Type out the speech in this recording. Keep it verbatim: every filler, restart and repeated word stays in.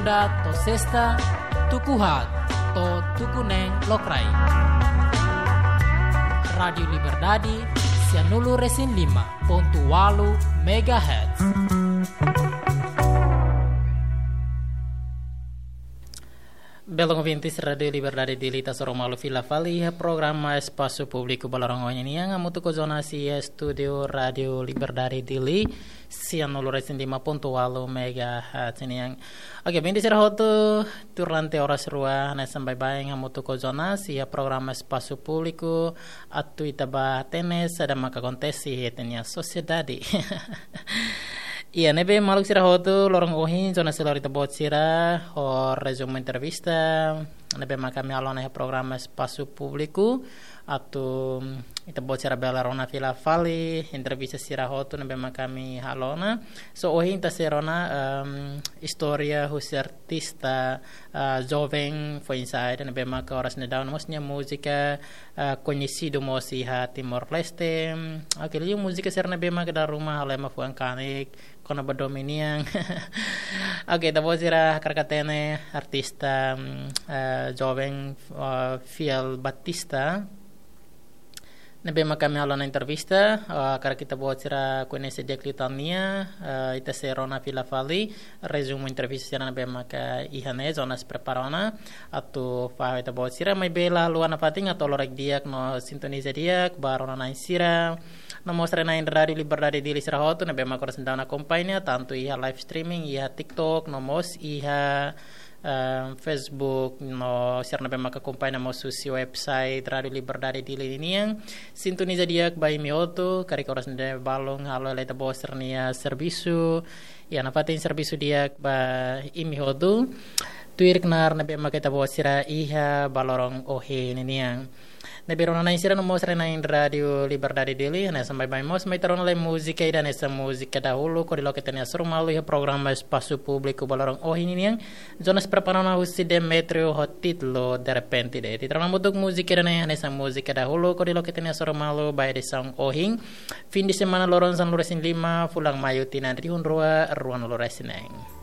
Segunda to'o sesta, tuku haat to'o tuku neen lokraik. Rádiu Liberdade, sia nulu-resin-lima pontu ualu megahertz. Belun ouvintes Rádiu Liberdade Dili, ita hasoru malu fila fali iha programa Espasu Públiku ba loron ohin nian, hamutuk ho Jonas iha estúdiu Rádiu Liberdade Dili, sia nulu-resin-lima pontu ualu megahertz nian. Oke, ouvinte sira hotu, durante oras rua hanesan baibain hamutuk ho Jonas iha programa Espasu Públiku, atu ita bá hatene saida maka akontese iha ita-nia sosiedade. Iha ne'ebé maluk sira hotu, loron ohin Jonas sei lori ita-boot sira ho rezumu entrevista ne'ebé maka ami halo ona iha programa Espasu Públiku, atu ita-boot sira bele rona fila fali entrevista sira hotu ne'ebé maka ami halo ona. So ohin ita sei rona, em, istória husi artista, ah, joven foin-sa'e ida ne'ebé maka oras ne'e daudaun mós nia múzika, ah, koñesidu mós iha Timor-Leste. Oke, liu múzika sira ne'ebé maka dala ruma halo ema fuan kanek kona-ba domin nian. Oke, ita-boot sira hakarak hatene artista, mm, eh, joven, eh, Fiel Batista ne'ebé maka ami halo ona entrevista, eh, hakarak ita-boot sira koñese di'ak liután nia, eh, ita sei rona fila fali rezumu entrevista sira ne'ebé maka iha ne'e Jonas prepara ona atu fahe ho ita-boot sira, maibé la haluha nafatin atu halo like di'ak no sintoniza di'ak ba rona-na'in sira no mós rai-na'in Rádiu Liberdade Dili sira hotu ne'ebé maka oras ne'e daudaun akompaña, tantu iha live streaming, iha TikTok, no mós iha, eh, Facebook, no sira ne'ebé maka akompaña mós husi website Rádiu Liberdade Dili nian. Sintoniza di'ak ba imi hotu, karik oras ne'e balun halo hela ita-boot sira-nia servisu, iha nafatin servisu di'ak ba imi hotu. Tuir knaar ne'ebé maka ita-boot sira iha ba loron ohin nian. Ne'ebé rona-na'in sira no mós rai-na'in Rádiu Liberdade Dili, hanesan baibain mós mai ita rona lai múzika ida hanesan múzika dahuluk hodi loke ita-nia hasoru malu iha programa Espasu Públiku ba loron ohin nian. Jonas prepara ona husi Demetrio ho títulu Derrepente de'it. Ita rona hamutuk múzika ida-ne'e hanesan múzika dahuluk hodi loke ita-nia hasoru malu ba edisaun ohin, fim de semana loron sanulu-resin-lima, fulan Maiu tinan rihun rua, ruanulu-resin-neen.